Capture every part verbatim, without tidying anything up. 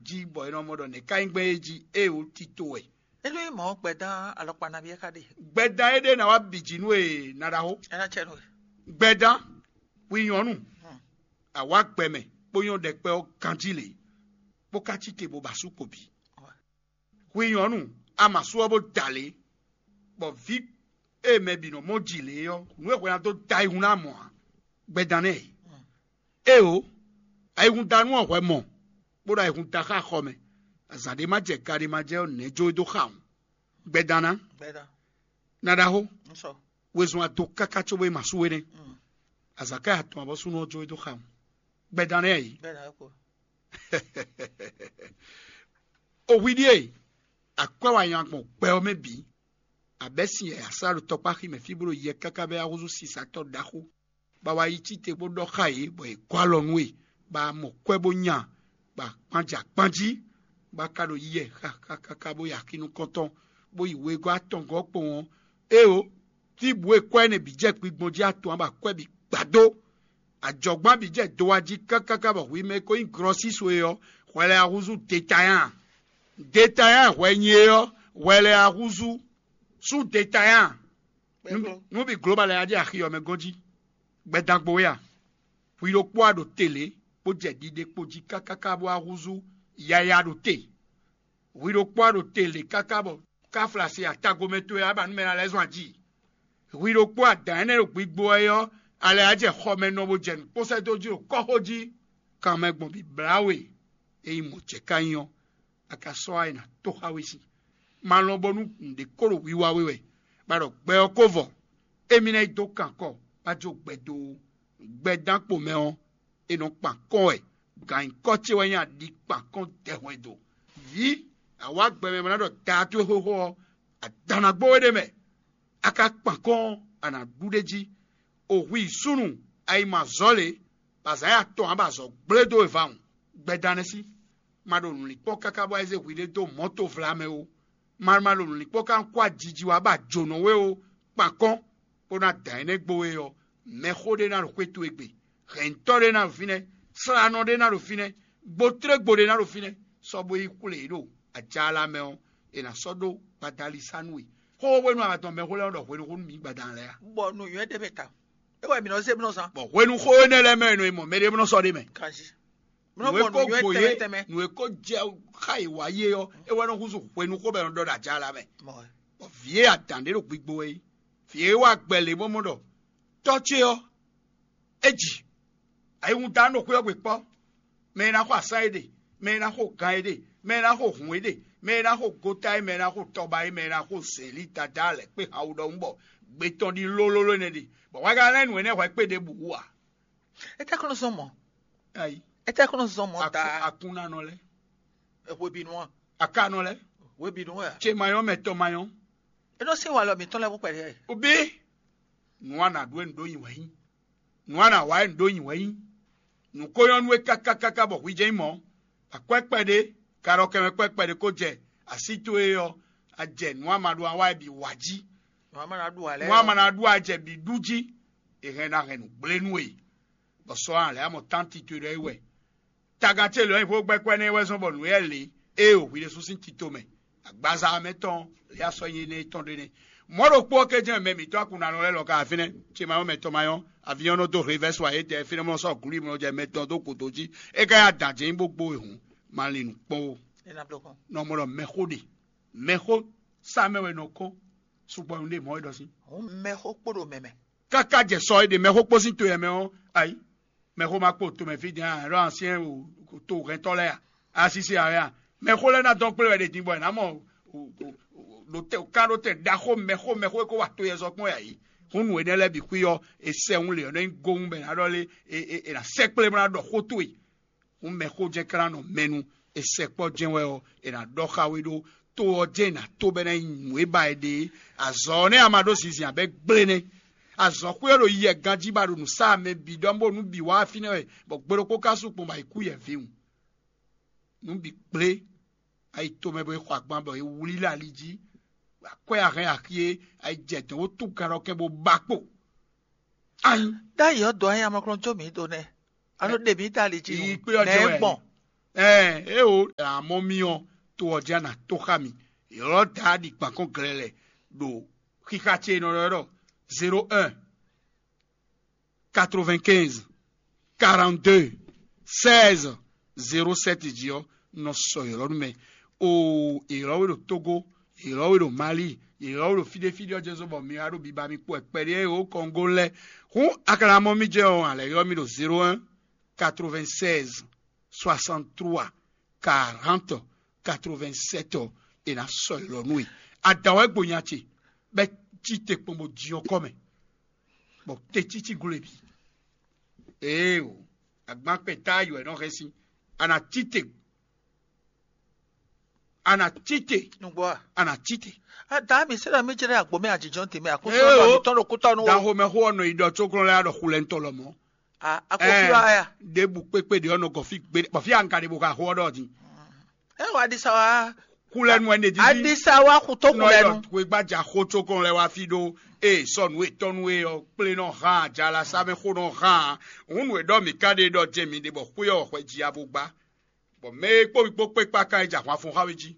jí bɔ è nɔ mɔ ɖɔ nɛ̌ ka nyí gbɛn é jí, ée wǒ tito wɛ. É nú nyí mɔ̌ gbɛdán alɔkpa nabí é ká ɖe? Gbɛdán éɖée ná wá bǐ jí nú e ná ɖaxó. É ná cɛ nú we. Gbɛdán hwi nyɔ̌nu, àwa gbɛmɛ bó nyɔ́ ɖɛkpɛ ɔ́ ganjí lě, bó ka cí te bó ba sú kpo bǐ. Hwi nyɔ̌nu, a ma sú ɔ́ bó da lě, bɔ vǐ e mɛ bǐ nɔ mɔ ji lě ɔ́, nǔ e hwɛ ná dó da ayihún ná mɔ ǎ. Gbɛdán nɛ́ e. Éeǒ, ayihúndánú ɔ́ hwɛ mɔ, bó ɖo ayihún da xá xɔ mɛ. Azǎn ɖé ma jɛ, ka ɖé ma jɛ ɔ́, nɛ̌ jó e dó xa ɔ́? Gbɛdán ná. Ná ɖaxó, wezun a do káká cóbó e ma sú we nɛ́. Azǎn ká ya tɔn abɔ́ súnnu ɔ́ jó e dó xa ɔ́. Gbɛdán nɛ́ a yě. O hwi ɖíe, akwɛ́ wa nyi agbɔn gbɛ ɔ́ mɛ bǐ. Abɛ́ sin yɛ̌yá sá ɖo tɔkpáxi mɛ fí bó ɖo yɛ káká bɛ́ wá húzú sisatɔ́ ɖaxó, bɔ a wá yi cí te bó ɖɔ xá yě, bɔ yě gɔ́ alɔ nú we, bɔ a mɔ kwɛ́ bó nya, bɔ akpán jɛ akpán jí, bɔ a ka ɖo yi yɛ xaxaxaxa bó yi axi nukɔntɔn, bó yi wegɔ́ atɔngɔ́ kpowun ɔ́. Éeǒ, fí bǔ e kwɛ́ énɛ́ bǐ jɛ gbigbɔn jí atɔn ǎ, bɔ akwɛ́ bǐ gbadó. Ajɔ̌gbán bǐ jɛ do wá jí kákáká bɔ hwi mɛ e ko nyí glɔ́síso é ɔ́, hwɛ lɛ́ɛ wá húzú detayán. Detayán hwɛ nyi é ɔ́, hwɛ lɛ́ɛ wá húzú sú detayán. Nú bǐ gló ba lɛ́ɛ wá jɛ axi ɔ́ mɛ gɔ́n jí. Gbɛdán gbo wɛ a? Hwi ɖokpó a ɖo te lě, bó jɛ ɖiɖe kpo jí kákáká bó wá húzú yaya ɖo te. Hwi ɖokpó a ɖo te lě káká bɔ káflasi atagomɛ towe a ba nú mɛ ná lɛ́ zɔn ají. Hwi ɖokpó adǎn énɛ́ ɖo gbigbo wɛ ɔ́, alɛ a jɛ xɔ mɛ nɔ bó jɛ nǔ kpɔ́n sɛ́ dó jí ɖo kɔ́xo jí. Kanmɛ gbɔn bǐblá we, ényí mɔ̌ jɛ ka nyí ɔ́, a ka sɔ́ wá yi ná tó xá we sin. Ma lɔn bónú nǔɖé kó ɖo wiwa we wɛ, bɔ a ɖɔ gbɛ ɔ́ ko vɔ, émí ná yi dó kan kɔ, bó a jó gbɛ dó ó. Gbɛdán kpo mɛ ɔ́, è nɔ kpan kɔn wɛ. Gǎn nyǐkɔ ce wɛ nyí aɖi kpan kɔn dɛhwɛndo. Vǐ, a wá gbɛ mɛ bó ná ɖɔ daa towe xóxó ɔ́, adǎn ná gbó we ɖ'é mɛ. A ka kpan kɔn ɔ́, a nǎ ɖu ɖ'é jí. O hwi súnnu, a yi mɔ azɔ̌ lě, bɔ azǎn ya tɔn ǎ bɔ azɔ̌ gblé dó we vawun. Gbɛdán nɛ́ sí. Ma ɖo nǔlinkpɔ́n káká bɔ a yi zé hwiɖée dó mɔ̌ tovlamɛ ó. Ma ma ɖo nǔlinkpɔ́n ká kó ajiji wá bɔ a jǒnɔ we ó, kpan kɔ́n, bó ná dǎn énɛ́ gbo we ɔ́, mɛxó ɖé ná ɖo xwé towe gbe, hɛ̌ntɔ́ ɖé ná ɖo fínɛ́, slánɔ ɖé ná ɖo fínɛ́, gbotrégbó ɖé ná ɖo fínɛ́, sɔ́ bó yi xwlé yě ɖo ajaala mɛ ɔ́, è nǎ sɔ́ ɖó gbadalisa nú we. Xóxó hwenu a ma dɔn mɛxó lɛ́ɛ nɔ ɖɔ hweɖuxó nú mǐ gbadaan lɛ́ɛ a? Bɔ nǔnywɛ́ ɖ'é mɛ ta. É wɛ mǐ nɔ zé bó nɔ zán. Bɔ hwenu xó énɛ́ lɛ́ɛ mɛ è nɔ yi mɔ mɛɖé bó nɔ sɔ́ ɖ'é mɛ. Kanjí. Mǐ nɔ Nǔ e mɔ ko nǔnywɛ́ gbo tɛnmɛ yě, tɛnmɛ. Nǔ e ko jɛ xá yě wá yé ɔ́, é wɛ nɔ húzú hwenuxó bɔ è nɔ ɖɔ ɖo ajaala mɛ. Mɔ wɛ. Bɔ vǐ e adǎn ɖé ɖo gbigbo wɛ é, vǐ e wá gbɛ lě bó mɔ ɖɔ tɔ́ ce ɔ́, é ji. Ayihún da nɔ xwé ɔ́ gbe kpɔ́. Mɛ e ná xo asán é ɖe, mɛ e ná xo gan é ɖe, mɛ e ná xo hǔn é ɖe, mɛ e ná xo gota é, mɛ e ná xo tɔba é, mɛ e ná xo zěli dada lɛ̌ kpé han wú ɖɔhun bɔ gbe tɔn ɖi lólóló énɛ́ ɖe. Bɔ hwɛ ka lɛ́ nǔ énɛ́ hwɛ kpé ɖěbǔ wú ǎ. Etɛ́ kɔn nɔ zɔn mɔ̌? Ayi. Etɛ́ kɔn nɔ zɔn mɔ̌ ta? Akunnanɔ lɛ́ɛ. Hwebǐnu a? Akanɔ lɛ́ɛ. Hwebǐnu wɛ a? Ce mayɔ́ mɛ tɔn mayɔ́. É nɔ sín walɔ mǐtɔn lɛ́ɛ bó kpɛɖé. Obe. Nǔ a nǎ ɖu wɛ nǔ ɖó nyi wɛ nyí. Nǔ a nǎ wa wɛ nǔ ɖó nyi wɛ nyí. Nǔ ko nyɔ́ nú we káká káká bɔ hwi jɛ́n nyí mɔ̌. Akwɛ́ kpɛɖé, kaɖɔkɛmɛ kwɛ́ kpɛɖé ko jɛ así towe ɔ́, a jɛ nǔ a ma ɖu a wa wɛ bǐ wa jí. Nǔ a ma ná ɖu ǎ lɛ́ɛ. Nǔ a ma ná ɖu a jɛ bǐ ɖu jí. È hɛn ná hɛn nǔ gblé nú we. Bɔ sɔ a lɛ̌ amɔ tánti towe ɖɔ é wɛ. Tagan ce lɔ̌ nyi xó gbɛ́ kwɛ́ nɛ́ wɛ zɔ́n bɔ nǔ éyɛ́ lě e o hwi ɖésú sín tito mɛ. Agbaza ɔ́ mɛ tɔn lě asɔ́ nyi énɛ́ tɔn ɖé nɛ́. Mɔ̌ ɖokpó ɔ́ ké jɛ́n mɛ mǐtɔn akunɖanɔ lɛ́ɛ lɔ ka wá fínɛ́. Ce ma nyɔ́ mɛ tɔn ma nyɔ́, avyɔ́n nɔ dó hevɛ́ sɔ ayétɛ fínɛ́ mɔ sɔ́ glú mɔ jɛ mɛ tɔn dó gǒdo jí. É ka yá dǎn jɛ́n nyí bó gbó we hǔn, ma lin nǔ kpɔ́n ó. Nɔ mɔ ɖɔ mɛxó ɖe, mɛxó sá mɛ wɛ nɔ kɔn, sugbɔ nǔ ɖe mɔ̌ é ɖɔ sín. Hǔn mɛxó kpo ɖo mɛ mɛ. Káká jɛ sɔ é ɖe mɛxó kpó sín to yɛ mɛ ɔ́, ayi. Mɛxó ma kpo tomɛ fí din a, ɖɔ asyɛn o to hɛntɔ́ lɛ́ɛ a, asisi a wɛ a? Mɛxó lɛ́ɛ ná dɔn kplé wɛ ɖe din bɔ è nǎ mɔ ɖo tɛ ká ɖo tɛ ɖaxó mɛxó mɛxó e ko wa to yɛ zɔ kpɔn yɛ yi. Hún nǔ énɛ́ lɛ́ɛ bǐ xwí ɔ́, è sɛ hun lě ɔ́ nɔ nyí gowun bɔ è nǎ ɖɔ lé, è nǎ sɛkplé bó ná ɖɔ xó towe. Hún mɛxó jɛ́n ka ná nɔ mɛ nu, è sɛkpɔ́ jɛ́n wɛ ɔ́, è nǎ ɖɔ xá we ɖó. To ɔ́ jɛ́n è nǎ to bɔ é ná nyí nǔ e ba è ɖe é. Azɔ̌ ɔ́ nɛ́ a ma ɖó zinzin abɛ gblé nɛ́. Azɔ̌xwé ɔ́ ɖo yi yɛ ganjí ba ɖo nǔ sa mɛ bǐ ɖɔ bó nǔ bǐ wá fínɛ́ wɛ, bɔ gbe ɖokpó ka sú kpɔn bɔ ayǐ kú yɛ vǐwun. Nǔ bǐ gblé, ayi tomɛ bɔ è xɔ agban bɔ è wlí lɛ ali jí, akwɛ́ a hɛn axi é, ayi jɛ dɔ̌n bó tú ganɖɔkɛ́n bó ba kpo. Ayi. Ɖ'ayǐ ɔ́ dɔ̌ ayamlɔklɔn jó mǐ do nɛ́. A nɔ ɖe mǐ da ali jí. Yi kpé ɔ́ jɛ wɛ. Gbɔn. Ɛɛ, é o. Amɔ́ mì ɔ́, to ɔ́ jí a nǎ tó xá mì. Ylɔ́ Daádi gban kɔn glɛlɛ ɖo xixa ce e nɔ ɖɔ ɖɔ zéro un quatre-vingt-quinze quarante-deux seize zéro sept jí ɔ́, un nɔ sɔ ylɔ́ nú mɛ. Oo, ylɔ́ we ɖo Tógó, ylɔ́ we ɖo Malíi, ylɔ́ we ɖo fí ɖé fí ɖé ɔ́ jɛ́n zɔ́n bɔ mi wá ɖo biba mi kpó wɛ kpɛɖé e wǒ kɔn gó lɛ́ɛ. Hǔn a ka ná mɔ mì jɛ ɔ́, a lɛ̌ ylɔ́ mì ɖo zéro un quatre-vingt-seize soixante-trois quarante quatre-vingt-sept ɔ́, è nǎ sɔ́ ylɔ́ nú we. Adǎn wɛ gbo nya ce, bɔ é cí te kpɔn bó jin ɔ́ kɔ mɛ, bɔ tecící gló e bǐ. Éeǒ, agbankpɛ táá yǒ wɛ nɔ hɛn sín. A nǎ cí te, a nǎ cí te, Nǔgbó a? A nǎ cí te. Ada mi se ɖɔ mi jɛ ɖe agbo mɛ ajijɔ te mɛ akutu Éeǒ, ɔdɔ mi tɔn ɖo kutɔ nu. Daxomɛxó ɔ́ nɔ yi ɖɔ cóglɔ́n lɛ́ɛ ɖɔ xulɛntɔ́ lɔmɔ̌. A a ko fi wa ya? Ɖěbǔ kpékpé ɖě ɔ́ nɔ gɔn fí gbeɖé, bɔ fí aŋka ɖě bó ka xo ɔ́ ɖɔ din. Ɛ wa ɖisa wa. Xulɛnu wɛ ne dídí. Adisa wa xutó xulɛnu. Xwegbaja xó cóglɔ́n lɛ́ɛ wá fí ɖó eye sɔnu etɔ́nu e ɔ́ kplé nɔ hán ajala sá mɛ xó nɔ hán. Hǔn nǔ e ɖɔ mǐ ka ɖe ɖɔ jɛ mǐ ɖe bɔ xwé ɔ́ xwɛ ji abo gbá. Bɔ mɛ e kpó mi kpó kpé kpákán e jɛ ahwan fɔ́n xá we jí,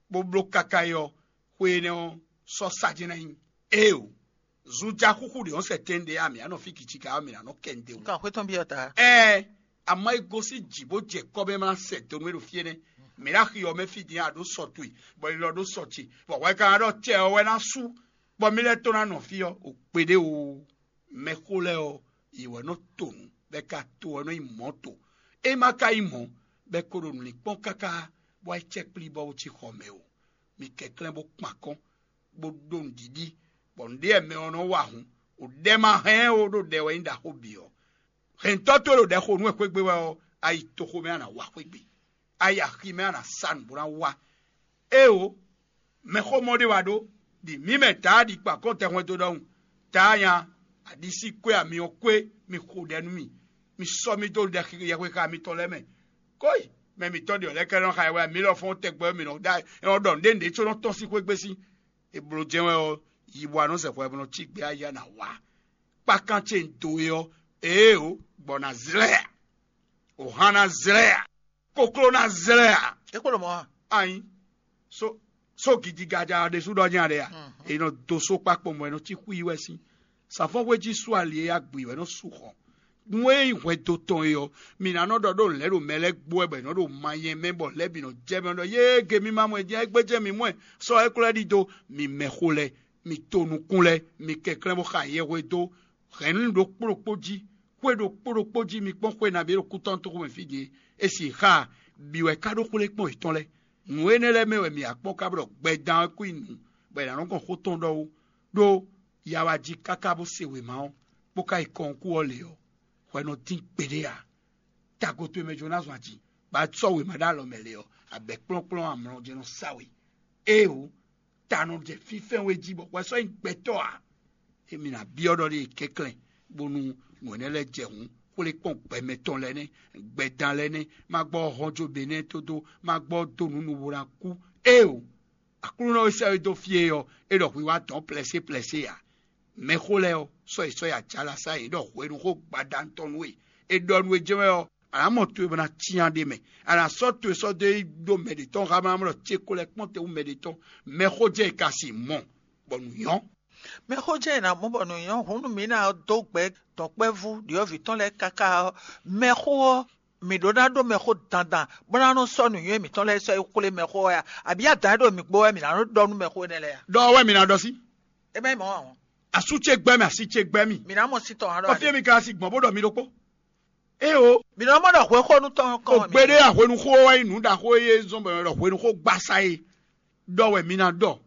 bó bló káká é ɔ́, xwe énɛ́ ɔ́ sɔ́ sá jɛ́n ná nyí. Éeǒ, zunja xúxú ɖě ɔ́ sɛ tɛn ɖé a mǐ á nɔ fí kici ka ɔ́, mǐ ná nɔ kɛ nǔɖé wú. Nkan xwé tɔn byɔ́ ta. Ɛɛ, amɔ́ e gosín jǐ bó jɛ kɔ́ mɛ ma sɛ donu e ɖo fí énɛ́. Mǐ ná xi ɔ́ mɛ fí din a ɖǒ sɔ towe, bɔ è lɔ ɖó sɔ ce, bɔ hwɛ ka ná ɖɔ tɛ ɔ́ wɛ ná sú, bɔ mí lɛ́ tó ná nɔ fí ɔ́, ò kpeɖé oo. Mɛxó lɛ́ɛ ɔ́, yě wɛ nɔ to nǔ, bɔ é ka to ɔ́ nɔ nyí mɔ̌ to. É ma ka nyí mɔ̌, bɔ é ko ɖo nǔ lin kpɔ́n káká, bɔ é cɛ́ kplí bɔ wú cí xɔ mɛ o. Mi kɛnklɛ́n bó kpan akɔ́n, bó ɖó nǔɖiɖi, bɔ nǔɖé wɛ mɛ ɔ́ nɔ wa hǔn. Ò ɖɛ ma hɛn ɔ́, ɖó ɖɛ wɛ nyí ɖaxó bǐ ɔ́. Hɛntɔ́ towe ɖo ɖɛ xo nú wɛ xwé gbe wɛ ɔ́, a yi toxo mɛ a nǎ wa xwé gbe. A yi axi mɛ a nǎ sa nǔ bó ná wa. Éeǒ, mɛxómɔ ɖé wá ɖó, ɖi mǐ mɛ Daádi kpa kɔ́ntɛn hwɛndo ɖɔhun. Taa nya, aɖisí kwé ami ɔ́ kwé, mi xo ɖɛ nú mì. Mi sɔ́ mì dó ɖɛ yɛhwexa mitɔn lɛ́ɛ mɛ. Kóyi, mɛ mǐtɔn ɖě ɔ́ lɛ́ɛ ka nɔ xa yɛ wɛ, mǐ lɔ fɔ́n tɛgbɛ mǐ nɔ ɖɔ nǔɖé nǔɖé có nɔ tɔ́n sín xwé gbe sín. È bló jɛ́n wɛ ɔ́, yi bɔ a nɔ zɛ hwɛ bɔ nɔ cí gbé ayá ná wá. Kpákán ce un dó we ɔ́, ée ǒ, gbɔ̌ ná zlɛ́ ǎ. Wǒhan ná zlɛ́ ǎ. Kokló ná zlɛ́ ǎ. É kpo ɖo mɔ̌ a? Anyi. Só só gidigaja ɔ́ ɖésú ɖɔ nya ɖe a? È nɔ dó só kpákpɔ́ mɔ è nɔ cí xwí wɛ sín. Sǎfɔ́nxwé jí sú ali e agbǐ wɛ nɔ sú xɔ. Nú é nyí hwɛndo tɔn e ɔ́, mǐ ná nɔ ɖɔ ɖó lɛ̌ ɖo mɛ lɛ́ɛ gbo wɛ bɔ è nɔ ɖo ma nyɛ mɛ bɔ lɛ̌ bǐ nɔ jɛ mɛ ɖɔ yéé ge mí ma mɔ ɛ jɛ́n é gbéjɛ mǐ mɔ ɛ. Sɔ́ é klɔ́ ɖidó, mǐ mɛxó lɛ́ɛ, mǐ to nukún lɛ́ɛ, mǐ kɛnklɛ́n bó xa yɛhwedo hɛ̌nnu ɖokpó ɖokpó jí, xwé ɖokpó ɖokpó jí mi kpɔ́n xwé nabí ɖo kútɔ́nútoxo mɛ fí din é. É si xá bǐ wɛ ká ɖó xwlé kpɔ́n yětɔn lɛ́ɛ. Nǔ énɛ́ lɛ́ɛ mɛ wɛ mǐ wá kpɔ́n ká bɔ ɖɔ gbɛdan ɔ́ kú nyi nǔ, bɔ è nǎ nɔ gɔn xó tɔn ɖɔ ó. Ɖó ya wá jí káká bó se wěma ɔ́, bó ka yi kɔn kú ɔ́ lě ɔ́, hwɛ nɔ dín gbeɖé ǎ. Tago towe mɛ jló ná zɔn aji, bɔ a sɔ́ wěma ɖó alɔ mɛ lě ɔ́, abɛ̌ kplɔ́nkplɔ́n amlɔ jɛ́n nɔ sa we. Éeǒ, ta nɔ jɛ fínfɛ́n we jí bɔ hwɛ sɔ́ nyí gbɛtɔ́ ǎ. Émí ná byɔ́ ɖɔ ɖé kɛnklɛ́n, bónú nǔ énɛ́ lɛ́ɛ jɛ hǔn, xwlé kpɔ́n gbɛ mɛtɔn lɛ́ɛ nɛ́, gbɛdan lɛ́ɛ nɛ́, ma gbɔ hɔn jó Benɛ́ɛ tó dó, ma gbɔ dó nǔ nu bó ná kú. Éeǒ, Aklúnɔ e sɛ́ we dó fí é ɔ́, é ɖɔ hwi wá dɔn plɛsé plɛsé ǎ. Mɛxó lɛ́ɛ ɔ́, sɔ́ yi sɔ́ yi ajala sá yě ɖɔ hwenu xó gbadanu tɔn nú we. È ɖɔ nú we jɛ́n wɛ ɔ́, a nǎ mɔ towe bɔ ná cyán ɖ'é mɛ. A nǎ sɔ́ towe sɔ́ dó yi ɖó mɛ ɖě tɔn xá bó ná mɔ ɖɔ céko lɛ́ɛ kpɔ́n te hú mɛ ɖě tɔn. Mɛxó jɛ e ka sin mɔ, bɔ nǔ nyɔ́. Mɛxó jɛ e ná mɔ bɔ nǔ nyɔ́ hǔn nú mǐ ná dó gbɛ dɔ̌nkpɛvú ɖyɔ̌vǐ tɔn lɛ́ɛ káká ɔ́, mɛxó ɔ́, mǐ ɖó ná ɖó mɛxó dandan, bó ná nɔ sɔ́ nǔnywɛ́ mǐtɔn lɛ́ɛ sɔ́ yi xwlé mɛxó ɔ́ ya? Abǐ adǎn e ɖo mǐ gbo wɛ mǐ ná nɔ ɖɔ nú mɛxó énɛ́ lɛ́ɛ ya? Ɖɔ wɛ mǐ ná ɖɔ sí. É má nyí mɔ̌ ǎ. Asú ce gbɛ́ mì, asi ce gbɛ́ mì. Mǐ ná mɔ sí tɔn ǎ ɖɔ. Kɔfí mi ka si gbɔn bó ɖɔ mi ɖokpó. Éeǒ. Mǐ nɔ mɔ ɖɔ hwexónú tɔn kɔn. Ògbéɖé ahwenuxó wɛ nyí nǔ ɖaxó e zɔ́n bɔ è nɔ ɖɔ hwenuxó gbasa é. Ɖɔ wɛ mi ná ɖɔ.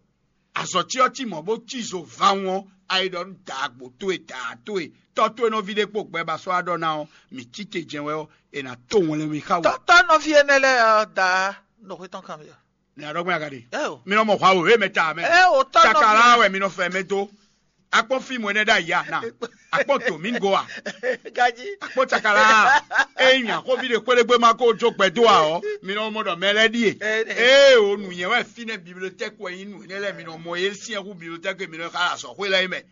Azɔ̌ ce ɔ́ cí mɔ̌ bó cí zo vawun ɔ́, a yi ɖɔ nú dǎagbo towe, daa towe, tɔ́ towe nɔví ɖé kpó gbɛ ba sɔ́ wá ɖɔ ná ɔ́, mǐ cí te jɛ́n wɛ ɔ́, è nǎ to wɛnlɛn mi xá we. Tɔ́tɔ́ nɔví énɛ́ lɛ́ɛ ɔ́, daa, un ɖo xwé tɔn kanbyɔ́. Nɛ a ɖɔ gbɛn aga ɖe. Eo. Mi nɔ mɔ hwa wěwé mɛ ta mɛ. Eo, tɔ́ nɔví. Cakala wɛ mi nɔ fɛ mɛ dó. Akpɔn fíìmù énɛ́ ɖ'ayǐ a na? Akpɔn tò mí go a? Gaji. Akpɔn cakala a? Ényí axɔ́ví ɖe kpéɖégbé ma ko jó gbɛdó a ɔ́, mi nɔ mɔ ɖɔ mɛ lɛ́ɛ ɖíe. Ée o nǔnyɛ wɛ fínɛ́ bibliotɛ́kì wɛ nyí nǔ énɛ́ lɛ́ɛ mi nɔ mɔ yé syɛ́n hú bibliotɛ́kì mi nɔ xa azɔ̌xwé lɛ́ɛ mɛ.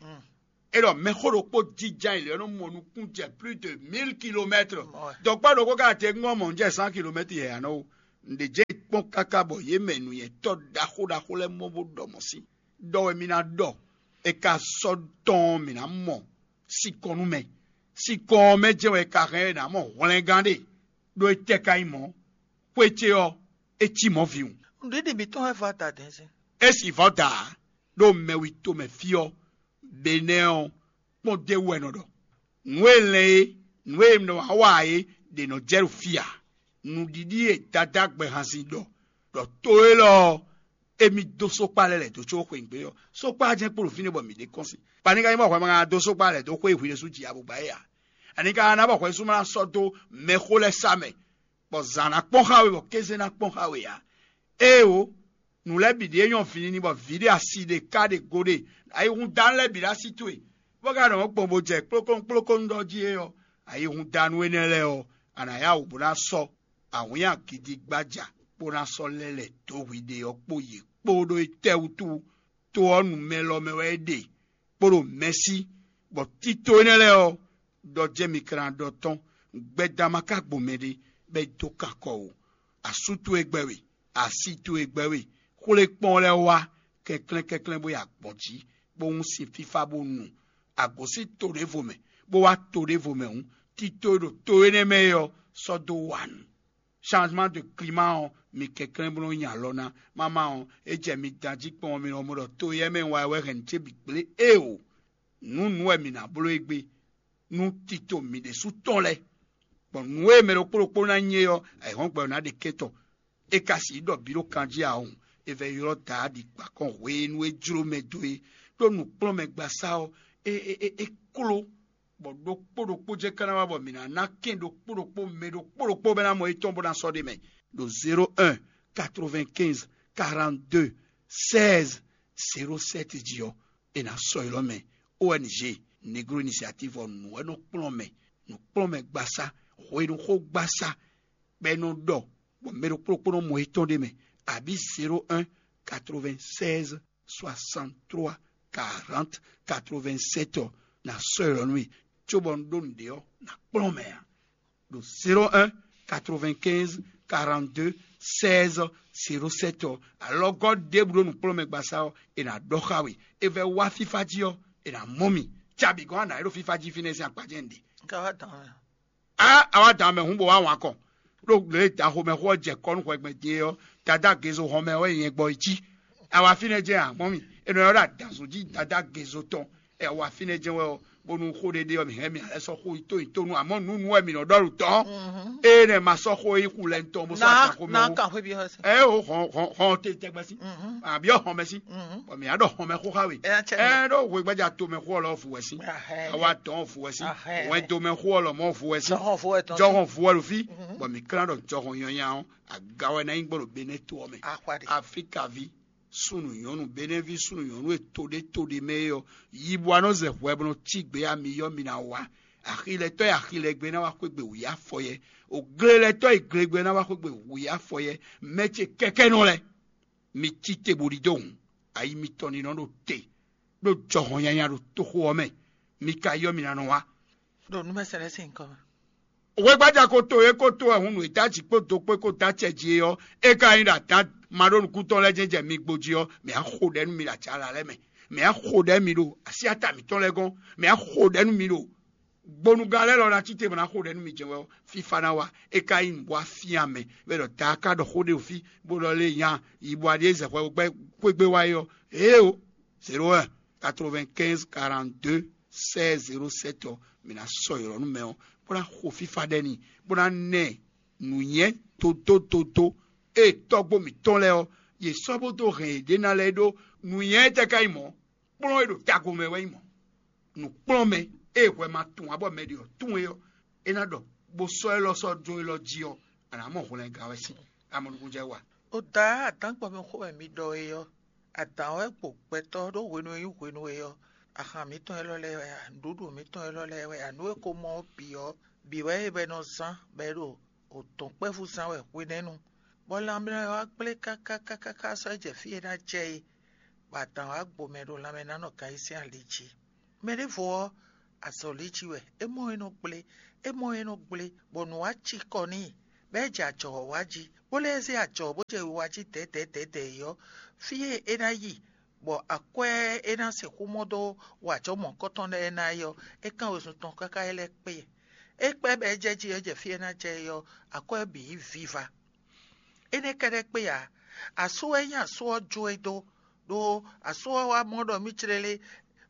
É ɖɔ mɛxó ɖokpó jínjɔ́n ayǐ lɛ́ɛ nɔ mɔ nukún jɛ plus de mille kilomètres. Dɔ̌kpá ɖokpó ka te ŋgɔ́ mɔ jɛ cent kilomètres yɛ a nɔ wo. Nǔɖé jɛ kpɔ́n káká bɔ yě mɛ nǔnywɛ́tɔ́ ɖaxó ɖaxó lɛ́ɛ mɔ bó ɖɔ mɔ̌ sín. Ɖɔ wɛ mi ná ɖɔ, è ka sɔ́ tɔn ɔ́, mǐ ná mɔ sinkɔn nú mɛ. Sinkɔn ɔ́ mɛ jɛ́n wɛ è ka hɛn é ná mɔ hwlɛngán ɖe, ɖó étɛ́ ka nyí mɔ̌? Xwé ce ɔ́, é cí mɔ̌ vǐwun. Nǔɖiɖi mǐtɔn wɛ vɔ́ adadɛ́nzɛ́n. É sì vɔ́ da ǎ, ɖó mɛwi tomɛ fí ɔ́, Benɛ́ɛ ɔ́, kpɔ́n d'é wú wɛ è nɔ ɖɔ. Nǔ e lɛn é, nǔ e nɔ wá wa é ɖě nɔ jɛ ɖo fí ǎ. Nǔɖiɖi e Dadá gbɛhanzin ɖɔ, ɖɔ to élɔ́ ɔ́, émí dó sókpá lɛ́ lɛ̌ dó có xweyǐgbe ɔ́, sókpá jɛ́n kpo ɖo fínɛ́ bɔ mǐ ɖe kɔ́n sín. Bɔ ani ka nyí bɔ hwɛ ma ka dó sókpá lɛ̌ dó xwé e hwi ɖésú ji abugba é ǎ? Ani ka ná bɔ hwɛ sú ma ná sɔ́ dó mɛxó lɛ́ɛ sá mɛ, bɔ zǎn ná kpɔ́n xá we, bɔ kéze ná kpɔ́n xá we ǎ? Éeǒ, nǔ lɛ́ɛ bǐ ɖíe nyɔ́ vǐnínní bɔ vǐ ɖé asi ɖé ká ɖe go ɖe ayihúndánú lɛ́ɛ bǐ ɖo así towe, bó ka nɔ gbɔn bó jɛ kplókónú kplókónú ɖɔ jí é ɔ́, ayihúndánú énɛ́ lɛ́ɛ ɔ́, a nǎ yá wǔ bó ná sɔ́ awǐnnya gidigbája kpó ná sɔ́ lɛ́ lɛ̌ dó hwiɖe ɔ́ kpó yě kpó ɖó étɛ́wútu? To ɔ́ nu mɛ lɔ mɛ wɛ é ɖe, kpó ɖo mɛ̌si, bɔ tito énɛ́ lɛ́ɛ ɔ́, ɖɔ jɛ́n mi ka ná ɖɔ tɔn, gbɛdán ma ka gbo mɛɖé, bɔ é dó kan kɔ ó. Asú towe gbɛ́ we, asi towe gbɛ́ we, xwlé kpɔ́n lɛ́ɛ wá kɛnklɛ́n kɛnklɛ́n bó yi agbɔ̌n jí, bó hún sin fífá bó nu. Agǒsín to ɖěvo mɛ, bó wá to ɖěvo mɛ hǔn, tito e ɖo to énɛ́ mɛ é ɔ́, sɔ́ dó wa nǔ. Changement de climat ɔ́, mi kɛnklɛ́n bó nɔ́ nyi alɔ ná. Mama ɔ́, é jɛ mi dan jí kpɔ́n ɔ́, mi nɔ mɔ ɖɔ to éyɛ́ mɛ wá wɛ hɛn nǔ ce bǐ gblé éeǒ. Nǔ nǔ wɛ mǐ ná bló é gbé, nú tito mǐ ɖésú tɔn lɛ́ɛ, gbɔn nǔ e mɛ ɖokpó ɖokpó ná nyi é ɔ́, ayǐhɔ́ngbe ɔ́ ná ɖe kɛ́tɔ́. É ka sixú ɖɔ bǐ ɖo kan jí ǎ hǔn, é vɛ́ ylɔ́ Daadi gbakɔn hwenu e jló mɛ dó é, ɖó nǔkplɔ́nmɛgbasá ɔ́, é é é é kló, bɔ ɖokpó ɖokpó jɛ́n ka ná wá bɔ mǐ ná ná kɛn ɖokpó ɖokpó mɛ ɖokpó ɖokpó bɔ é ná mɔ étɔn bó ná sɔ́ ɖ'é mɛ. Ɖo zéro un, quatre-vingt-quinze, quarante-deux, seize, zéro sept jí ɔ́, è nǎ sɔ́ ylɔ́ mɛ. O N G Negro Initiative ɔ́, nǔ wɛ nɔ kplɔ́n mɛ, nǔkplɔ́nmɛgbasá, hwenuxógbasá, bɔ é nɔ ɖɔ, bɔ mɛ ɖokpó ɖokpó nɔ mɔ étɔn ɖ'é mɛ, abǐ zéro un, quatre-vingt-seize, soixante-trois, quarante, quatre-vingt-sept ɔ́, ná sɔ́ ylɔ́ nú mì, cóbɔ un ɖó nǔɖé ɔ́, ná kplɔ́n mɛ ǎ. Ɖo zéro un, quatre-vingt-quinze, quarante-deux, seize, zéro sept ɔ́, alɔgɔ́ ɖěbǔ ɖo nǔkplɔ́nmɛgbasá ɔ́, è nǎ ɖɔ xá we. È vɛ́ wá fífá jí ɔ́, è nǎ mɔ mì. Cabǐ gɔ́n a nǎ é ɖo fífá jí fínɛ́ sín akpá jɛ́n un ɖe. Ka wá dán mɛ. Á, a wá dán mɛ hǔn bó wá wǎn kɔn. Ɖó lě e daxomɛxó ɔ́ jɛ kɔ́ nú hwɛgbɛn din é ɔ́, Dadá Gezo hɔn mɛ wɛ nyɛ gbɔ yi cí. A wá fínɛ́ jɛ́n a mɔ mì. È nɔ ylɔ́ ɖɔ adǎnzú jí Dadá Gezo tɔn. Ɛ wá fínɛ́ jɛ́n wɛ ɔ́, bónú xó ɖé ɖe ɔ́, mǐ hɛn mì alɛ sɔ́ xó yi tó yi tó nú amɔ̌ nǔnú wɛ mǐ nɔ ɖɔ ɖo tɔ́. Ée nɛ́ ma sɔ́ xó yi xu lɛ́ tɔn bó sɔ́ Ná atan xó mɛ ná ó. Kan xwé byɔ́ xɛsɛ. Ɛ o hɔn hɔn hɔn te tɛgbɛ sí. Àbí ɔ hɔn mɛ sí. Bɔn mǐ á ɖɔ hɔn mɛ xó xá we. Ɛ ná cɛ ɛ ɖó hwé gbájà to mɛ xó ɔlɔ fu wɛ sí. Ahɛ. Awa dɔn fu wɛ sí. Ahɛ. Wɛn do mɛ xó ɔlɔ mɔ fu wɛ sí. Jɔhɔn fu wɛ tɔn. Jɔhɔn fu wɛ ɖo fí. Bɔn mǐ klán ɖɔ jɔhɔn nyanya ɔ́, aga wɛ ná nyí gbɔ ɖo Benɛ́ to ɔ́ mɛ. Axwa ɖe. Afrikavi, súnnu nyɔ̌nu, Benɛ́vi súnnu nyɔ̌nu e to ɖé to ɖé mɛ é ɔ́, yi bɔ a nɔ zɛ hwɛ bɔ nɔ cí gbě ami yɔ mi ná wá. Axilɛtɔ́ e axilɛgbé ná wá xwégbe wǔyá fɔyɛ. Oglelɛtɔ́ e glegbe ná wá xwégbe wǔyá fɔyɛ. Mɛ ce kɛkɛ́nɔ lɛ́ɛ, mi cí te bó ɖidó hǔn, ayi mitɔn ní nɔ ɖo te, ɖó jɔhɔn nyanya ɖo toxo ɔ́ mɛ. Mi ka yɔ mi ná nɔ wá. Ɖo nǔmɛsɛn lɛ́ɛ sín nyǐkɔ mɛ. Wegbaja ko to e ko to wɛ hun nǔ e dó aji kpó do kpó e ko dó acɛ jí é ɔ́, é ka nyí ɖo adǎn maɖónúkúntɔn lɛ́ɛ jɛ́n jɛ mi gbo jí ɔ́, mǐ á xo ɖɛ nú mi ɖo aca ala lɛ́ɛ mɛ. Mǐ á xo ɖɛ nú mi ɖo así ata mǐtɔn lɛ́ɛ gɔ́n. Mǐ á xo ɖɛ nú mi ɖo gbonugán lɛ́ɛ lɔ ná cí te bɔ ná xo ɖɛ nú mi jɛ́n wɛ ɔ́, fífá ná wá. É ka nyí nǔ bó wá fyán mɛ, bɔ é ɖɔ daa ka ɖɔ xó ɖé ɖo fí, bó ɖɔ lé nya yi bɔ aɖí e zɛ hwɛ gbɛ xwégbé wá é ɔ́, éeǒ, zéro un, quatre-vingt-quinze, quarante-deux, seize, zéro sept ɔ́, mǐ ná sɔ́ ylɔ̌ nú mɛ ɔ́, bó ná xo fífá ɖɛ n'i, bó ná ná ɛ nǔnywɛ́ dodódodó e tɔ́gbó mǐtɔn lɛ́ɛ ɔ́, yě sɔ́ bó dó hɛn yěɖée ná lɛ́ɛ ɖó nǔnywɛ́ étɛ́ ka nyí mɔ̌? Kplɔ́n e ɖo tago mɛ wɛ nyí mɔ̌. Nǔkplɔ́nmɛ e hwɛ ma tunwun ǎ bɔ mɛ ɖě ɔ́ tunwun é ɔ́, é ná ɖɔ, bó sɔ́ élɔ́ sɔ́ dó élɔ́ jí ɔ́, a nǎ mɔ hwlɛngán wɛ sín amɔnukúnjɛ wa. O da adǎn gbɔ mɛ xó wɛ mi ɖɔ é ɔ́, adǎn wɛ gbo gbɛtɔ́ ɖó hwenu e nyí hwenu e ɔ́, ahan mǐtɔn élɔ́ lɛ́ɛ wɛ a, nǔɖuɖu mǐtɔn élɔ́ lɛ́ɛ wɛ a, nǔ e ko mɔ ɔ́ bǐ ɔ́, bǐ wɛ é bɔ é nɔ zán bɔ é ɖo o dɔ̌nkpɛvú zán wɛ hwenɛ́nu, bɔ lanmɛ ɔ́ wá gblé káká káká sɔ́ jɛ fí e ná jɛ é, bɔ adǎn wá gbo mɛ ɖo lanmɛnánɔ kan yí sín ali jí. Mɛ ɖěvo ɔ́, azɔ̌ lí jí wɛ, é mɔ é nɔ gblé, é mɔ é nɔ gblé, bɔ nǔ wá cikɔ n'i, bɔ é jɛ ajɔ wá jí, bó lɛ́ zé ajɔ bó jɛ wiwa jí dɛ̌dɛ̌dɛ̌dɛ̌ é ɔ́, fí e é ná yi, bɔ akwɛ́ e é ná sixú mɔ dó wa ajɔ̌ mɔ̌hunkɔtɔn lɛ́ɛ ná é ɔ́, é kán wezun tɔn káká é lɛ́ kpé. É kpɛ́ bɔ é jɛ jí ɔ́ jɛ fí e é ná jɛ é ɔ́, akwɛ́ bǐ yí viva. Énɛ́ kɛ́ɖɛ́ kpé ǎ. Asú wɛ nyí asú ɔ́ jó e dó, ɖó asú ɔ́ wá mɔ ɖɔ mì clélé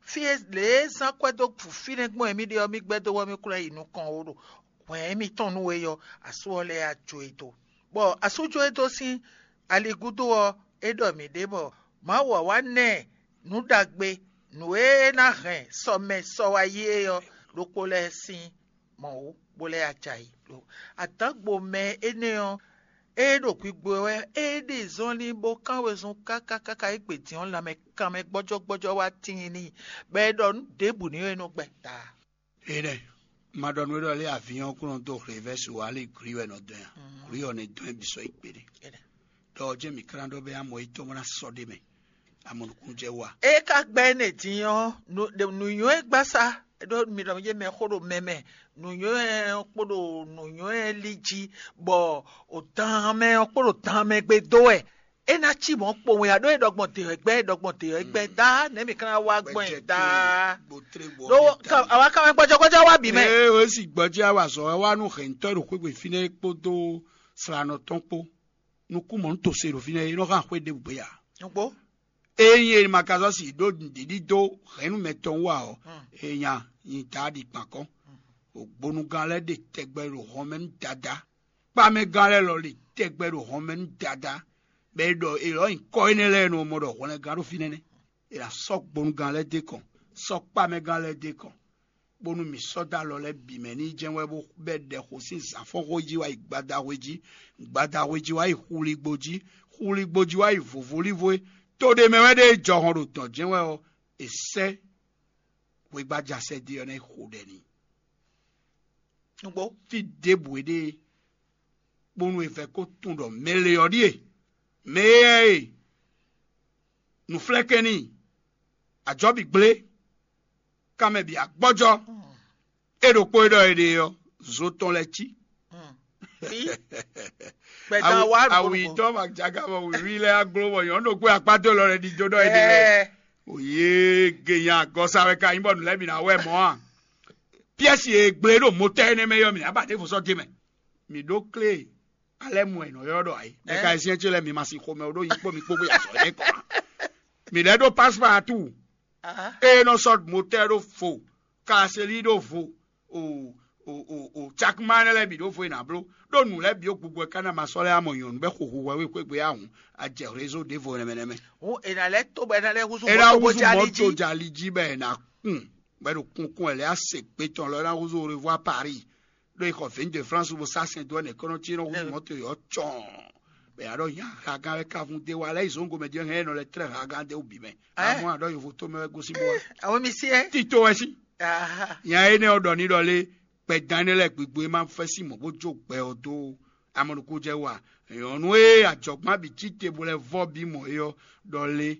fí e lě e zán kwɛ́ dó fínɛ́ gbɔn e mì ɖe ɔ́, mì gbɛ́ dó bɔ mì kplɔ́n yi nukɔn ó ɖo hwɛ̌n mitɔn nú we ɔ́, asú ɔ́ lɛ́ wá jó e dó. Bɔ asú jó e dó sín ali gúdo ɔ́, é ɖɔ mǐ ɖe bɔ Mawu wá wá ná ɛ nǔ ɖagbe, nǔ e é ná hɛn sɔ mɛ sɔ wá yi é ɔ́ ɖokpó lɛ́ɛ sín mɔ̌ wú, bó lɛ́ ya jɛ ayǐ. Adǎngbo mɛ énɛ́ ɔ́, é ɖo gbigbo wɛ, é ɖi zɔnlin bó kán wezun káká káká é gbe din ɔ́ lanmɛ kanmɛ gbɔ́jɔ́gbɔ́jɔ́ wá tíin n'i, bɔ é ɖɔ nǔ ɖěbǔ n'i wɛ é nɔ gbɛ ta. Énɛ́, ma ɖɔ nú we ɖɔ lé avǐ ɔ́ kún nɔ dó hlěvɛ́su ǎ, lě glí wɛ nɔ dɔn ɛ a? Glí ɔ́ nɛ dɔn ɛ bǐ sɔ́ yi kpeɖé. Ɖɔ ɔ́ jɛ́n mǐ klán ɖɔ bɛ́ amɔ yětɔn bó ná sɔ́ ɖ'é mɛ, amɔ nukúnnú jɛ wú a? É ka gbɛ́ énɛ́ din ɔ́, nǔ- nǔnywɛ́ gbasá, ɖó mi ɖɔ yé mɛ xó ɖo mɛ mɛ, nǔnywɛ́ ɔ́ kpo ɖo nǔnywɛ́ lí jí, bɔ o dan mɛ ɔ́ kpo ɖo dan mɛ gbe dó wɛ. É ná cí mɔ̌ kpowun ya, ɖó é ɖɔgbɔn dě wɛ gbɛ́, é ɖɔgbɔn dě wɛ gbɛ́ dá, nɛ̌ mi ka ná wá gbɔn ɛ dá? Ɖó ka- àwa ka wɛ gbɔjɔgbɔjɔ wá bǐ mɛ. Ee, o si gbɔjɛ awa zɔ wɛ wá nú hɛntɔ ɖo xwégbè fínɛ́ kpódó slanɔ tɔn kpó. Nukún mɔ̌ nú to se ɖo fínɛ́, é nɔ hán xwé ɖěbǔ gbé ya. Nukpó. Ényí e ma ka zɔ́ si ɖó nǔɖiɖi dó hɛ̌nnu mɛtɔn wú ǎ ɔ́, é nya nyi ta ɖi kpan kɔn. Ogbonugán lɛ́ɛ ɖe tɛgbɛ ɖo hɔn mɛ nú Dadá. Kpámɛgán lɛ́ɛ lɔ ɖe tɛgbɛ ɖo hɔn mɛ nú Dadá, bɔ è ɖɔ è lɔ̌ nyǐkɔ énɛ́ lɛ́ɛ nɔ mɔ ɖɔ hwlɛngán ɖo fínɛ́ nɛ́. È nǎ sɔ́ gbonugán lɛ́ɛ dó kɔn, sɔ́ kpámɛgán lɛ́ɛ dó kɔn, bónú mǐ sɔ́ dó alɔ lɛ́ɛ bǐ mɛ ní jɛ́n wɛ bó bɛ́ ɖɛ xo sín zǎnfɔ́nxó jí wá yi gbadaxwé jí, gbadaxwé jí wá yi xuligbo jí, xuligbo jí wá yi vǒvólívo é. To ɖé mɛ wɛ ɖe jɔhɔn ɖo dɔ̌n jɛ́n wɛ ɔ́, è sɛ́ hwegbaja sɛ́dé ɔ́ ná yi xo ɖɛ n'i. Nǔgbó. Fí ɖěbǔ é ɖe bónú è vɛ́ ko tunwun ɖɔ mɛ le ɔ́ ɖíe, mɛ éyɛ́ e nǔflɛ́kɛ́n n'i, ajɔ̌ bǐ gblé, kanmɛ bǐ agbɔ́jɔ́, é ɖokpó e ɖɔ è ɖe ɔ́, zo tɔn lɛ́ɛ cí. Gbɛdán wá awu yitɔ́ ma jaga bɔ wǐwí lɛ́ɛ aglo bɔ nyɔ̌nu ɖokpó akpá dó lɔ lɛ ɖidó ɖɔ è ɖe lɛ. Òye genya agɔsa wɛ ka nyí bɔ nǔ lɛ́ɛ bǐ ná wɛ mɔ̌ a? Piɛ́si e gblé ɖo motɛ́ énɛ́ mɛ yɔ mǐ ná ba ɖěvo sɔ́ d'é mɛ. Mǐ ɖó klé alɛ́mu e nɔ ylɔ́ ɖɔ ayǐ. Mɛ ka e syɛ́n ce lɛ́ɛ mi ma sin xomɛ ó ɖó nyi kpó mi kpó bó yi azɔ̌ énɛ́ kɔn ǎ. Mǐ lɛ́ ɖó paspɔ́ atu. Ée nɔ sɔ́ motɛ́ ɖó vo, kaselí ɖó vo, o o o o cakuma énɛ́ lɛ́ɛ bǐ ɖó vo e nǎ bló, ɖó nǔ lɛ́ɛ bǐ ó gbogbo wɛ ká ná ma sɔ́ lɛ́ amɔ nyɔ̌nu bɛ xo hu hwɛ wé xwé gbe awun, a jɛ rézo ɖěvo nɛmɛ nɛmɛ. Hǔn è nǎ lɛ́ tó bɔ è nǎ lɛ́ húzú é ná mɔ̌to húzú bó jɛ ali mɔ̌to jí. Jɛ ali jí bɔ è nǎ kún, bɔ è ɖo kunkun wɛ lɛ́ á se gbe tɔn lɔ é ná húzú Au revoir Paris. Ɖó è xɔ vǐn de France bó sá sɛn dó ɛnɛ kɔ́nɔtí nɔ húzú mɔ̌to yɔ̌ cɔn. Bɔ è nǎ ɖɔ nya hagán wɛ kavun dé wa lɛ́ yi zǒngo mɛ din hɛn é nɔ lɛ́ tlɛ́ hagán dé wú bǐ mɛ. Amɔ̌ aɖɔ yovo tó mɛ wɛ gosín bó wá. Àwọn mi sí ẹ. Tito wɛ sí. Nya énɛ́ ɔ́ ɖɔ ní ɖɔ lé, gbɛdán énɛ́ lɛ́ɛ gbigbo e ma fɛ́ sín mɔ̌ bó jó gbɛ ɔ́ dó amɔnukújɛ wú a? Nyɔ̌nu e ajɔ̌gbán bǐ cí te bó lɛ́ vɔ́ bí mɔ é ɔ́ ɖɔ lé,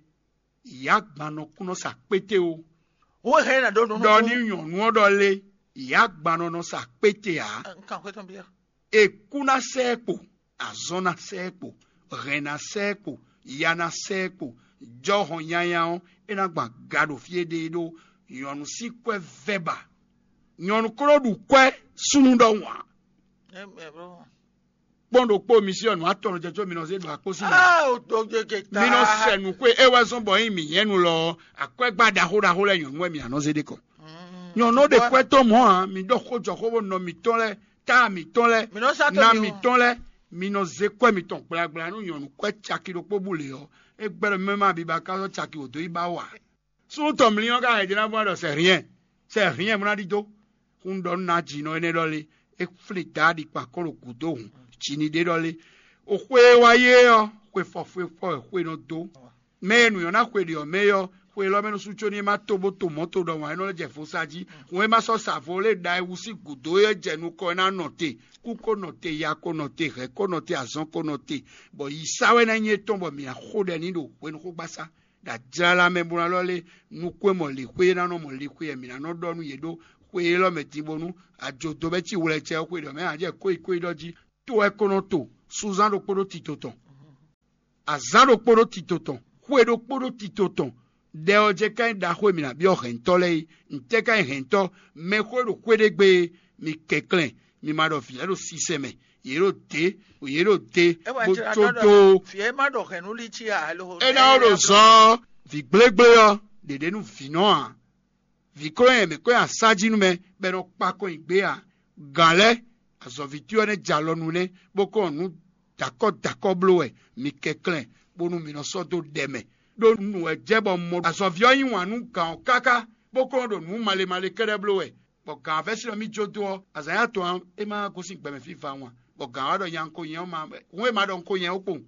yǎ gban nɔ kún nɔ sa kpété ó. Wó hɛn na ɖó nunu. Ɖɔ ní nyɔ̌nu ɔ́ ɖɔ lé, yǎ gban nɔ nɔ sa kpété ǎ. Nkan xwé tɔn bia. È kú ná sɛ ɛ kpo, azɔn ná sɛ ɛ kpo, hɛn ná sɛ ɛ kpo, ya ná sɛ ɛ kpo, jɔhɔn nyanya ɔ́, é ná gban ga ɖo fí e ɖe é ɖó nyɔ̌nu sín kwɛ́ vɛ́ ba. Nyɔ̌nu kó ɖo ɖu kwɛ́ súnnu ɖɔhun ǎ. Kpɔ́n ɖokpó mi sí ɔ́, nǔ atɔn jɛ có mi nɔ zé ɖo akpó sí mɛ. Mi nɔ sɛ nǔ xwe é wɛ zɔ́n bɔ nyí mǐ nyɛ́nu lɔ ɔ́, akwɛ́gbá ɖaxó ɖaxó lɛ́ɛ nyɔ̌nu wɛ mǐ nǎ nɔ zé ɖe kɔ. Nyɔ̌nu ɖe kwɛ́ tɔn mɔ̌ ǎ, mi ɖɔ xó jɔ xó bó nɔ mǐtɔn lɛ́ɛ, tá mǐtɔn lɛ́ɛ, ná mǐtɔn lɛ́ɛ, mi nɔ zé kwɛ́ mitɔn gblagbla nú nyɔ̌nu kwɛ́ caki ɖokpó bú lě ɔ́, é gbɛ́ ɖɔ mɛ ma biba ká zɔ́ caki wǒ dó yi ba wǎ. Súnnu tɔn mlí ɔ́ ka hɛn jɛ ná vɔ́n ɖɔ sɛ hǐnyɛ, sɛ hǐnyɛ mlá ɖidó. Hún ɖɔ nú ná jǐnɔ énɛ́ ɖɔ lé, é flín Daadi kpan kɔn ɖo gǔdo hǔn, jǐ ní ɖe ɖɔ lé. O xwe e wá yé ɔ́, xwe fɔfɔ́fɔ́ wɛ xwe nɔ dó. Mɛ e nǔ nyɔ́ ná xwe ɖě ɔ́ mɛ é ɔ́, xwe élɔ́ mɛ nɔ sú có ní é má tó bó to mɔ̌ to ɖɔ wǎn é nɔ lɛ́ jɛ vo sa jí. Hǔn é má sɔ́ sa vo lé ɖa e wú sín gǔdo é jɛ nukɔn é ná nɔ te. Kú kó nɔ te, ya kó nɔ te, hɛ̌ kó nɔ te, azɔn kó nɔ te, bɔ yi sá wɛ ná nyí étɔn bɔ mǐ ná xo ɖɛ ní ɖo hwenuxógbasá. Ɖo ajlala mɛ bó ná lɔ lé nukún e mɔ lǐxwé é ná nɔ mɔ lǐxwé wɛ mǐ ná nɔ ɖɔ nú yě ɖó xwe élɔ́ mɛ din bónú ajodo bɛ́ cí wlɛcɛ ɔ́ xwe ɖɔ mɛ ǎ jɛ kóyikóyi ɖɔ jí. To wɛ ko nɔ to sunzán ɖokpó ɖó tito tɔn, azǎn ɖokpó ɖó tito tɔn, xwe ɖokpó ɖó tito tɔn. Ɖɛ ɔ́ jɛ ka nyí ɖaxó e mǐ ná byɔ́ hɛ̌ntɔ́ lɛ́ɛ é. Ntɛ́ ka nyí hɛ̌ntɔ́? Mɛxó e ɖo xwé ɖé gbe é, mi kɛnklɛ́n, mi ma ɖɔ vǐ lɛ́ɛ ɖo sisɛ mɛ, yě ɖo dě, yě ɖo dě, bó có dó. Vǐ e ma ɖɔ hɛ̌nnu lí cí ǎ lóho. É ná ó ɖo zɔ ɔ́, vǐ gblégblé ɔ́, ɖě ɖě nú vǐ nɔ ǎ. Vǐ kó nyɛ mǐ kó nyɛ asá jí nú mɛ, bɔ è nɔ kpa kɔn nyi gbé ǎ. Gǎn lɛ́ɛ, azɔ̌ví towe ɔ́ nɛ́ jɛ alɔ nu nɛ́, bó kɔn nǔ dǎkɔ́ dǎkɔ́ bló wɛ mi kɛnklɛ́n, bónú mi nɔ sɔ́ dó ɖɛ mɛ. Ɖó nǔ wɛ jɛ bɔ un mɔ azɔ̌ví ɔ́ yí wǎn nú gǎn ɔ́ káká, bó kɔn ɖo nǔ male male kɛ́ɖɛ́ bló wɛ. Bɔ gǎn ɔ́ vɛ́ sin ɔ́ mì jó dó ɔ́, azǎn ya tɔn ɔ́, é má gosín gbɛ mɛ fífá wan, bɔ gǎn ɔ́ wá ɖɔ nya un ko nyɛ ɔ́ ma, hǔn e ma ɖɔ un ko nyɛ ɔ́ kpowun.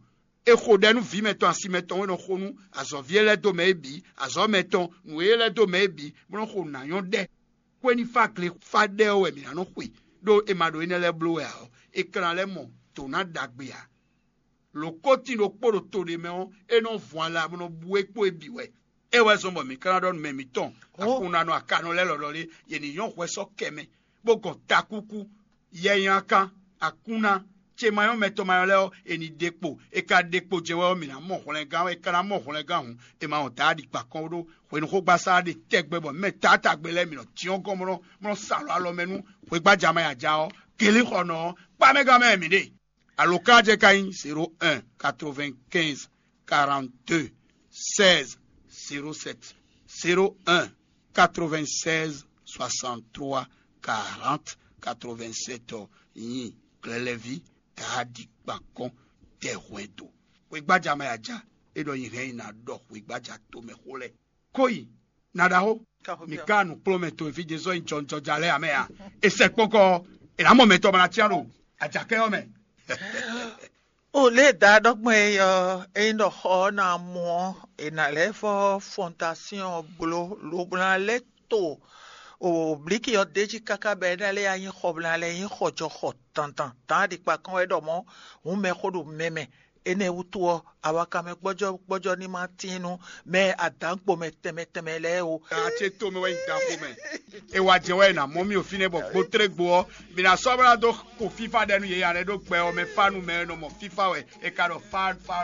È xo ɖɛ nú vǐ mɛtɔn asi mɛtɔn e nɔ xo nú azɔ̌ví e lɛ́ dó mɛ é bǐ, azɔ̌ mɛtɔn, nǔ e lɛ́ dó mɛ é bǐ, bó nɔ́ xo nǔ ná nyɔ́ ɖɛ. Xwé ní fá gle fá ɖɛ ɔ́ wɛ mǐ ná nɔ́ xwe, ɖó è ma ɖo énɛ́ lɛ́ɛ bló wɛ ǎ ɔ́, é ka ná lɛ́ mɔ dǒ ná ɖagbe ǎ. Lǒ kótín ɖokpó ɖo to ɖé mɛ ɔ́, é nɔ vun ala bó nɔ bú é kpó é bǐ wɛ. É wɛ zɔ́n bɔ mǐ ka ná ɖɔ nú mɛ mǐtɔn, akunɖanɔ akanɔ lɛ́ɛ lɔlɔ́ lé, yě ní nyɔ́ hwɛ sɔ́ kɛ mɛ, bó gɔn takúkú, yɛnyakan, akunna, ce ma nyɔ́ mɛtɔn ma nyɔ́ lɛ́ɛ ɔ́, è nǐ ɖe kpo. È ka ɖe kpo jɛ wɛ ɔ́, mǐ ná mɔ hwlɛngán, è ka ná mɔ hwlɛngán hǔn, è ma wɔn Daadi kpa kɔn ɖó hwenuxógbasá ɖe tɛgbɛ bɔ mɛ taátagbe lɛ́ɛ mǐ nɔ cyɔ́n gɔ́n bó nɔ́ sa alɔ alɔ mɛ nú hwegbájamɛ e a ja ɔ́. Kelíxɔnɔ ɔ́, kpá mɛ gán mɛ mǐ ɖe. Alǒkan jɛ ka nyí zéro un quatre-vingt-quinze quarante-deux seize zéro sept, zéro un quatre-vingt-seize soixante-trois quarante quatre-vingt-sept ɔ́ nyi Glɛlɛví Daadi kpan kɔn tɛ hwɛndo. Xwegbaja ma ya ja, é ɖɔ nyi hɛn nyi ná ɖɔ xwegbaja tomɛ xó lɛ́ɛ. Kó yi, na ɖaxó, mi ka nǔkplɔ́nmɛ towe fí Jezu ɔ́ nyi jɔnjɔja lɛ́ɛ ǎ mɛ a? È sɛ kpɔ́n kɔ ɔ́, è nǎ mɔ mɛ tɔn bɔ ná cyán ɖo ajakɛ ɔ́ mɛ. O lě e da ɖɔ gbɔn é ɔ́, ényí ɖɔ xɔ ɔ́ ná mɔ ɔ́, è nǎ lɛ́ fɔ fɔntasyɔn ɔ́ bló, lobo ná lɛ́ to o blǐki ɔ́ d'é jí káká bɔ é ná lɛ́ nyí xɔ bó ná lɛ́ nyí xɔjɔxɔ dandan. Dǎn ɖi kpa kɔn wɛ ɖɔ mɔ̌, hǔn mɛ xó ɖo mɛ mɛ. Énɛ́ wútu ɔ́, awakanmɛ gbɔ́jɔ́ gbɔ́jɔ́ ní ma tíin nú mɛ adǎnkpo mɛ tɛnmɛ tɛnmɛ lɛ́ɛ ó. Acé tomɛ wɛ nyí danxo mɛ. É wá jɛ wɛ è nǎ mɔ mì o fínɛ́ bɔ gbotlégbo ɔ́, mǐ ná sɔ́ bó ná dó xo fífá ɖɛ nú yě ǎ lɛ́ɛ ɖó gbɛ ɔ́ mɛ fá nú mɛ e nɔ mɔ fífá wɛ è ka ɖɔ fá fá